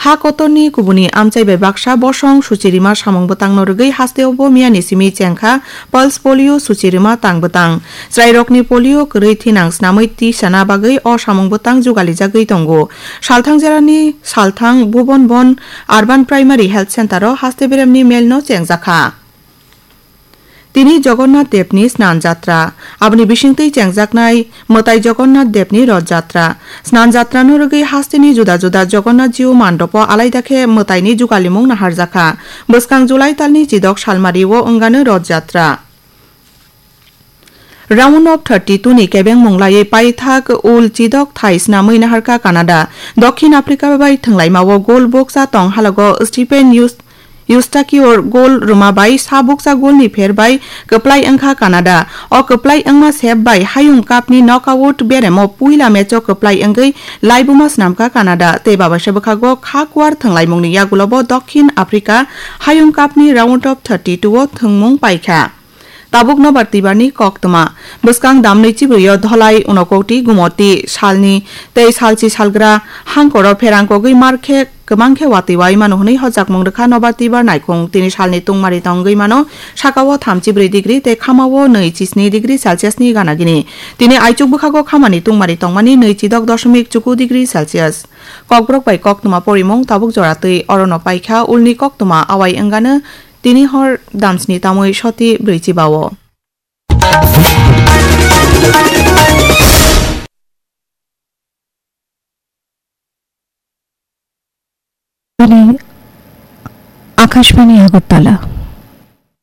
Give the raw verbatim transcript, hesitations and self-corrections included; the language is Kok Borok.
Ha kotorni kubuni amchai bai baksa bosong suchirima samung bwtangno rwgwi hasteo bo miyani simi chengkha pulse polio suchirima tang bwtang. Chwrairokni polio kwrwi thinang snamwi tisana bagwi o samung bwtang jugalijagwi tongo. Salthang jerani Salthang Bhuban Bon Urban Primary Health Center o haste beremni melno chengjakha. Tini Jagannath Devni Snan Jatra, aboni bisingtwi chengjaknai mwtai Jagannath Devni Roth Jatra. Snan Jatrano rwgwi hasteni juda juda Jagannath Jiu mandopo alaida khe mwtaini jugalimung naharjakha. Bwskang July talni chidok salmario wngano Roth Jatra. Round of thirty-two ni kebeng mung laiwi paithak ul chidok thai snamwi naharkha Canada. Dokhin Africa bai thwnglaimao gol bukcha tong halago Stephen Yus-, Eustachior gol rwma bai sa bukcha golni pher bai kwplai wngkha Canada. O kwplai wngma sep bai Hayung Cup ni knockout beremo puila match o kwplai wngwi laibuma snamkha Canada tei babaisa bwkhago kha kuar thwnglaimungni yagulobo Dokhin Africa Hayung Cup ni round of thirty-two o thwngmung paikha. Tabuk nobar twibarni koktwma. Bwskang damnwi chibrwio Dholai, Unokoti, Gumoti salni tei salchi salgra hangkoro pherang kogwi mar khe kwbang khe watwi wai mano hwnwi hojakmung rwkha nobar twibar naikhung. Tini salni tungmari tongwi mano, sakao thamchi brwi degree tei khamao nwi chisni degree Celsius ni gana gini. Tini aichuk bwkhago khamani tungmari tongmani nwi chidok doshomik chuku degree Celsius. Kokborok bai koktwma porimung tabuk jora twi orono paikha, ulni koktwma awai wngano. Tini hor damsni tamwi soti brwichi bao. Bini Akashbani Agartala.